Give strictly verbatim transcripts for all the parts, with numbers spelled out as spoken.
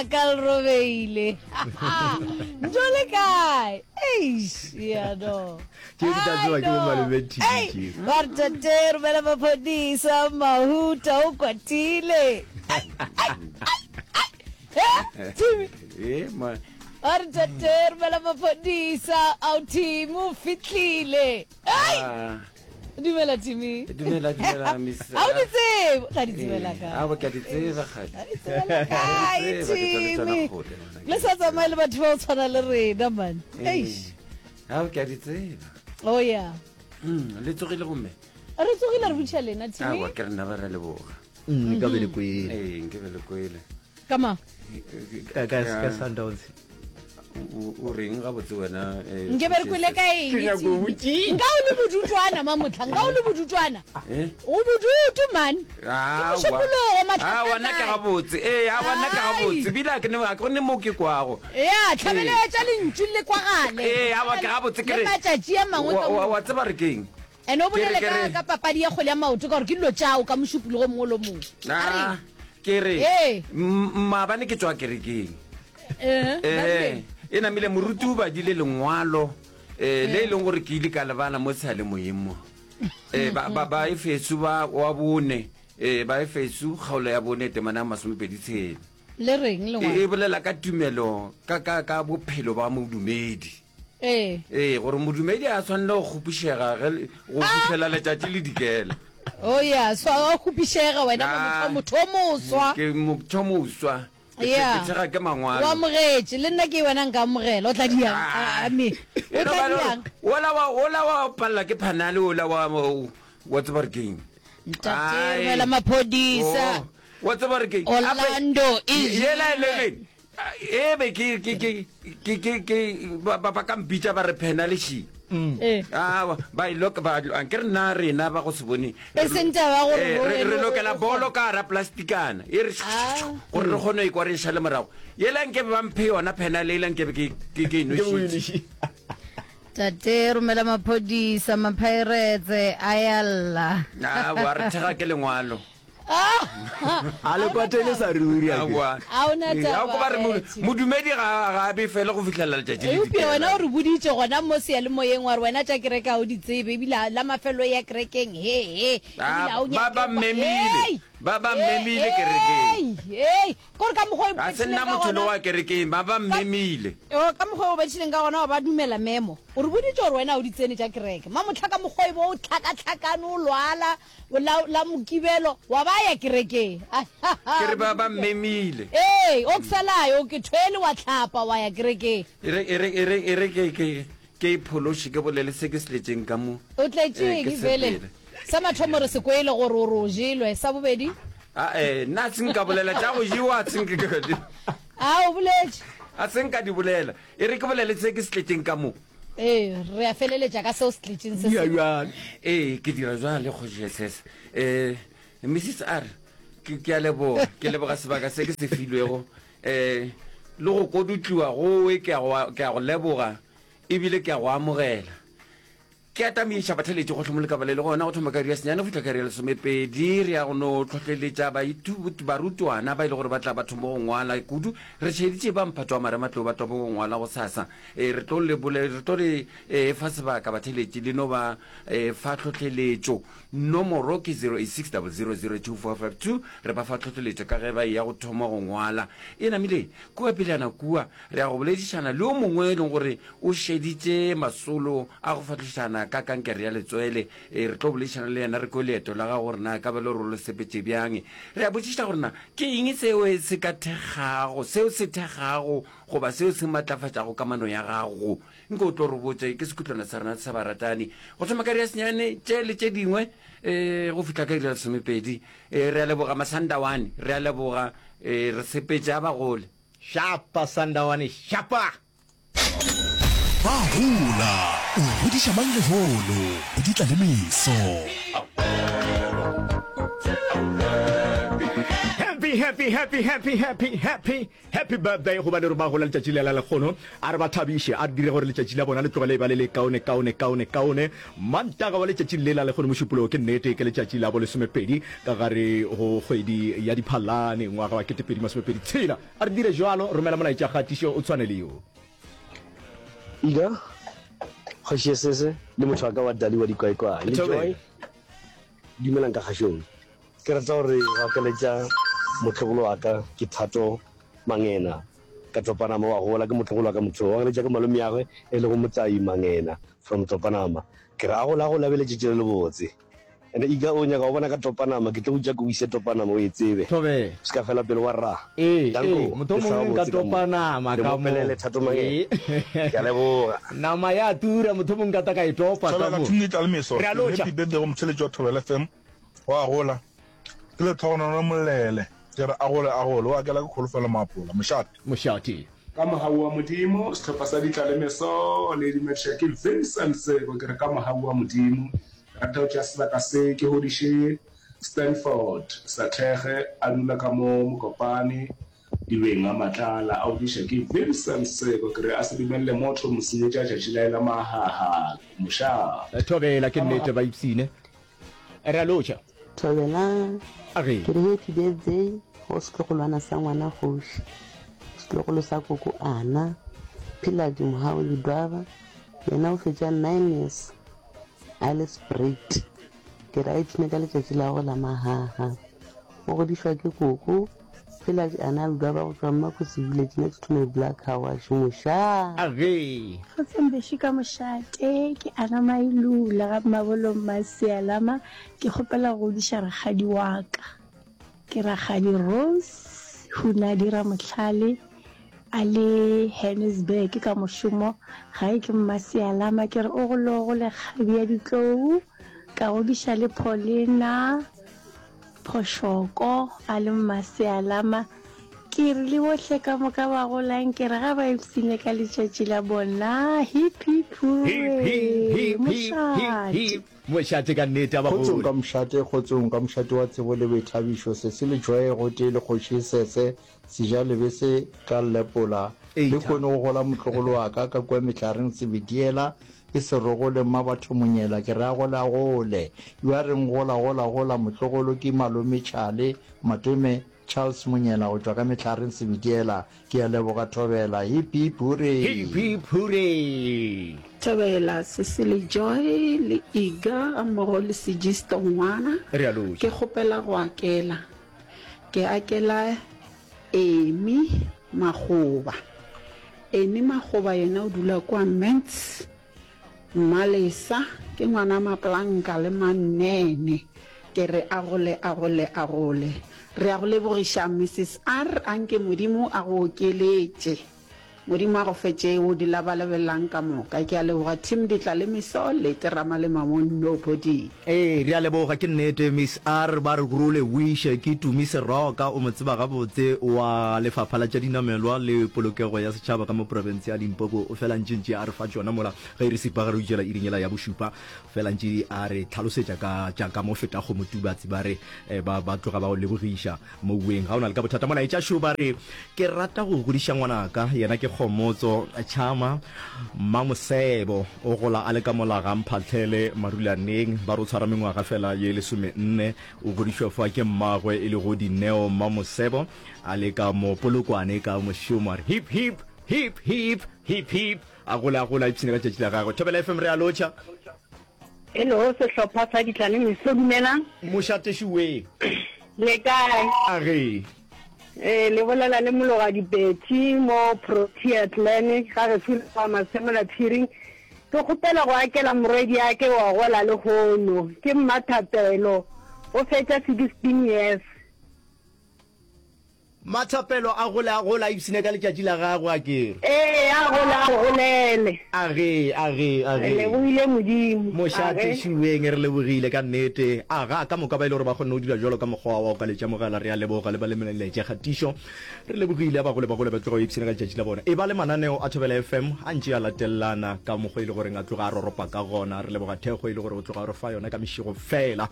la ka le robeile. Ntho le kae? Eish, ya no. Tšeo di tla tsewa ke bo malome Timi tšeo. Ba re tate romela maphodisa Mahuta o kwatile. Ai, ai, ai, ai. Eh, Timi. Eh, ma. Ba re tate romela maphodisa ao Timi o fihlile. Ai. Ah. Dumela Timi. Dumela, dumela, Miss. A o di tsebe? O tla di tsebela kae? Aowa, ke a di tseba, kgadi. Di tsebela kae, Ke a di tseba, ke tšwa le tšona Timi? kgole, ngwana. Le sa tsamaye le batho ba go tshwana le rena, man. Ee. Eish. Ao, ke a di tseba. Oh, yeah. Mm, le tsogile gomme? Re tsogile, re botšiša lena, Timi. Aowa, ke rena ba re leboga. Mm, nka be le kwele. Ee, nke be le kwele. Ka mang? Ka, ka, ka Sundowns. O, o reng gabotse wena? Eh, Nke be re kwele ka eng? Ke nyako Timi? botšiša. Nka o le bodutwana, mamotlha. Nka o le bodutwana. Eh? O bodutu, man. Ke Aowa. mošupologo, matlha Aowa, nna ke gabotse. Ee, aowa, nna ke gabotse. Ebile a ke ne, a ke gone mo ke kwago. Ya, tlhabeletša lentšu le kwagale. Ee, aowa, ke gabotse ke Le re. matšatši a mangwe Wa, ka wa, moka. wa tseba re keng? Ene o Ke re, bolele ke ka, re. ka papadi ya kgwele ya maoto ka gore ke dilo tšao ka mošupologo o mongwe le o mongwe. A re. Ah, ke re. Ee. M- maabane ke tšwa kerekeng. Eh, Eh, e namile moruti o badile lengwalo eh, le e leng gore ke ile ka lebala mo seyalemoyeng mo. Eh, ba, ba, ba Efeso ba wa bone, eh, ba Efeso kgaolo ya bone temana ya masomepedi tshela. Le reng E, lengwalo? e bolela ka tumelo, ka, ka, ka bophelo ba modumedi. Ee. Ee, gore modumedi a tshwanele go kgopišega ge le- go fihlela letšatši le dikela. Oh yeah, so wa kgopišega wena Ah. motho o moswa. Ke motho moswa. Ke Yeah. ke tshega ke mangwalo. O amogetše, le nna ke wena nka amogela. O tla diang? Ah. A me. O E no tla ba le gore diang? Ola wa ola wa palela ke phanale ola wa wa tseba re keng? Ntate Ai. romela maphodisa. Oh, wa tseba re keng? Orlando e Yela jelwe. eleven. E be ke ke ke ke ke ke ba ba ba ka mpitša ba re phenale shi. Eh. Ah, ba e loka ba ke re nna rena ba go se bone. E seng taba ya gore Eh, o re wena re o- lokela o- bolo ka hara plastikana. E re Ah. gore re kgone go ikwa re e šale morago. Yela nke be ba mphe yona phenale ela nke be ke ke ke e Nke o e nošitše. nošitše. Tate romela maphodisa, mapirates a ya lla. Ah, wa re thega ke lengwalo. A le kwatele sa ruri a ke. Aowa. A o na Ee, taba, a o ko ba re mo- Betty. modumedi ga ga a befele go fihlela letšatši le Eupša dikela. wena o re boditše gona mo seyalemoyeng wa re wena tša kereke ga o di tsebe, ebile a- la mafelo ya kerekeng, he, he, ebile Ah, ga o ba nyake ba go kwa- mmemile. Hei! Ba ba Hei, mmemile hei, kerekeng. hei. Kore ka mokgwa o Ga se iphetšhileng nna ka motho le gona- wa kerekeng, ba ba mmemile. O, ka mokgwa o betšhileng ka gona wa ba dumela memo. O re boditše gore wena o di tsene tša kereke. Mamohla ka mokgwa e bo o tlhakatlhakane, o lwala, o la, la Mokibelo, wa ba ya kerekeng. Ke re ba ba mmemile. Ee, o ksalayo, ke thwele wa tlhapa wa ya kerekeng. E re, e re, e re, e re ke, ke, ke iphološe, ke bolele se ke se tletšeng ka mo. O tletše Eh, ke eng bjale? sepele. Sa mathomo re se kwele gore o re o jelwe. Sa bobedi? A, eh, nna a se nka bolela tša go jewa, a se nka ke di- A, o boletše. A se nka di bolela. E re ke bolele se ke se tletšeng ka mo. Ee, re a feleletša ka seo se tletšeng se Dira sengwe. bjalo. Ee, ke dira bjale, Kgoši S S. Eh, Missus R, ke, ke a leboga. Ke leboga sebaka se ke se filwego. Eh, le go kodutliwa gowe, ke a go, ke a go leboga, ebile ke a go amogela. Ke atamiša batheeletši gohle mo lekaba le le gona, go thoma ka iri ya senyane go fihla ka iri ya lesomepedi. Re ya go no hlohleletša baithuti, barutwana ba e le gore ba tla ba thoma go ngwala kudu. Re šeditše ba mphato wa marematlou ba thoma go ngwala gosasa. E, re tlo le bole, re tlo le, e, fa sebaka batheeletši le no ba, e, fa tlhohleletšo. Nomoro ke zero eight six double zero zero two four five two. Re ba fa tlhohleletšo ka ge ba eya go thoma go ngwala. E namile kua pejana kua re ya go boledišana le yo mongwe e leng gore o šeditše masolo a go fahlošana ka kankere ya letswele. E, re tlo boledišana le yena, re kwe leeto la gagwe gore na ka ba le gore o le sepetše bjang. Re a botšiša gore na ke eng seo se ka thekgago, seo se thekgago goba seo se matlafatšago kamano ya gago. Nke o tlo re botše, ke sekhutlwana sa rena sa baratani. Go thoma ka iri ya senyane, tše le tše dingwe, e, go fihla ka iri ya lesomepedi. E, re a leboga Masandawane, re a leboga, e, re sepetše a bagole. Shapa Sandawane, shapa! Ba gola, o godiša mang lehono, go di tla le meso. Happy Happy, happy, happy, happy, happy, happy, happy birthday go ba le re ba gola letšatši le la lekgono. A re ba thabiše, a re dire gore letšatši la bona le tlogele e ba le le kaone, kaone, kaone, kaone. Mantaga wa letšatši le la lekgono mošupologo ke nnete ke letšatši la bo lesomepedi ka gare go kgwedi ya Diphalane ngwaga wa ketepedi masomepedi tshela. A re dire jwalo, romela molaetša kgatišo o tshwane le yo. Ida, Kgoši Esese le motho wa ka wa Dali wa Dikwaekwae le Joy, dumelang ka kgašong. Ke rata gore go akaletša motlogolo wa ka ke Thato Mangena ka Topanama wa gola ke motlogolo wa ka motho wa akaletša ke malomeagwe e lego Motsai Mangena from Topanama ke re a gola a gola a be letšatši le lebotse and ika o nyaka go bona ka Topanama ke tlo go tša ke o ise Topanama o e tsebe Thobela. se ka fela pelo wa rra Ee, danko ee, motho le hlaga mongwe nka botse ka mo topa nama le ka mo. mopelele Thato Mangena Ee. ke a leboga. Nama ya tura, motho mongwe nka ta ka e topa ka Thobela mo. Team Ditla le Meso, Re a ke re lotšha. happy birthday go motheeletši wa Thobela F M. Wa gola. Ke lehlogonolo Molele. Ke re a gole a gole. O akela ke kholofelo Maapola. Mošate. Mošate. Ka mogau wa Modimo, sehlopha sa Ditla le Meso le dumediša ke Vincent Seko. Ke re ka mogau wa Modimo, ke rata go tšea sebaka se ke godiše Stanford Sathege a dula ka mo Mokopane dibeng a Matlala a godiša ke Vincent Seko. Ke re a se dumelele motho mo senyetša tšatši la la mahaha. Mošate. Thobela, ke nnete ba ipsine. Re a lotšha. Thobelang, A ge. Ke re happy birthday go setlogolwana sa ngwana kgoši, setlogolo sa koko Ana, Pheladi Mohau Ledwaba, yena o fetša nine years a le sprayed. Ke re a ipshine ka letšatši la gagwe la mahaha. O godišwa ke koko Pheladi Ana Ledwaba go tšwa Mmakgosi Village next to my black car wash. Mošaa! A ge. Kgotsong bešo ka mošate, ke Ana Mailula ga Mmabolong Masialama, ke kgopela go godiša rakgadi wa ka. Ke rakgadi Rose Hunadi Ramohlale a le Hannesburg ka mošomo, gae ke Mmasialama, ke re o golo gole kgabi ya ditlou, ka godiša le Paulina Phošoko a le Mmasialama, ke re le bohle ka moka ba golang, ke re ga ba ipshine ka letšatši la bona, hip hip Hip, hip, hooray, hip, hip, hip, mošate. hip. Mošate ka nnete a ba Kgotsong gole. ka mošate, kgotsong ka mošate wa tsebo le boithabišo, Sesi le Joy gotee le Kgoši Sese, Seja Lebese ka Lepola. Eitha. Lehono go gola motlogolo wa ka ka kua mehlareng Sebediela, ke Serogole Mmabatho Monyela, ke re a gole a gole. Yo a reng gola gola gola motlogolo ke Malome Tšhale Matome Charles Monyela go tšwa ka mehlareng Sebediela. Ke a leboga Thobela. Hip hip hooray. Hip hip hooray. Thobela, Sesi le Joy le Iga gammogo le Sejisto ngwana. Re a lotšha. Ke kgopela go akela. Ke akela Amy Makgoba. Amy Makgoba yena o dula kua Mentz. Mmalesa ke ngwana Maplanka le Mannene. Ke re a gole a gole a gole. Re a go lebogiša Missus R, anke Modimo a go okeletše. Modimo a go fe tšeo di labalabelelang ka moka. Ke a leboga team Ditla le Meso, Lete Ramalema mo Nobody. Ee, re a leboga, ke nnete Miss R, ba re role wiše ke Tumi Seroka, o mo tseba gabotse, wa Lefapha la tša Dinamelwa le Polokego ya Setšhaba ka mo profense ya Limpopo, o fela ntše ntše a re fa tšona mola ge re sipa ge re itšela iring yela ya bošupa, fela ntše a re tlhalosetša ka tša ka mo feta kgomo Tubatse, ba re ba ba tloga ba go lebogiša moweng, ga o na le ka bothata. Molaetša šo ba re ke rata go godiša ngwanaka, yena ke Kgomotso Tšhama Mmamosebo, o gola a le ka mola ga Mphahlele Marulaneng, ba re o tshwara mengwaga fela ye lesomenne, o godišwa fa ke mmagwe e lego Dineo Mmamosebo, a le ka mo Polokwane ka mošomo, a re hip hip hip hip hip hip, a gola a gola a ipshine ka tšatši la gagwe. Thobela F M re a lotšha. Hello, sehlopha sa Ditla le Meso, dumelang. Mošate šuwe. Le kae? A ge. Eh, le bolela le Mologadi Betty mo Protea Clan, ga gešo le kwa Masemola Phiring. Ke kgopela go akela morwediake wa gola lehono, ke Mmathapelo, o fetša sixteen years. Mathapelo a gole a gole a ipshine ka letšatši la gagwe, a ke re. Ee, a gole a golele. A ge, a ge, a Re ge. lebogile Modimo. Mošate A ge. Šuweng, re lebogile ka nnete. A ga, ka moka ba e le gore ba kgonne go dira bjalo ka mokgwa wa go ka letša mogala, re a leboga le ba le melaetša kgatišo. Re lebogile, a ba gole ba gole ba tloga ba ipshine ka letšatši la bona. E ba le mananeo a Thobela F M a ntše a latelelana ka mokgwa e le goreng a tloga a roropa ka gona. Re leboga thekgo e le gore o tloga o re fa yona ka mešego fela.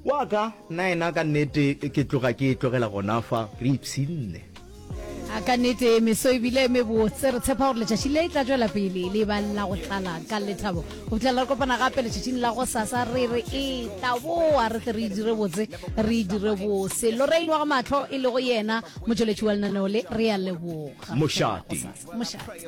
Wa ka, nna ena ka nnete ke tloga ke e tlogela gona fa, re ipshinne. A ka nnete meso e bile e mebotse. Re tshepa gore letšatši le tla tšwela pele le ba la go tlala ka lethabo. Go fihlela re kopana gape letšatšing la gosasa, re re e tla boa re tle re e dire botse, re e dire bose. Lorraine wa ga Mahlo e lego yena motšweletši wa lenaneo le, re a leboga. Mošate. Mošate.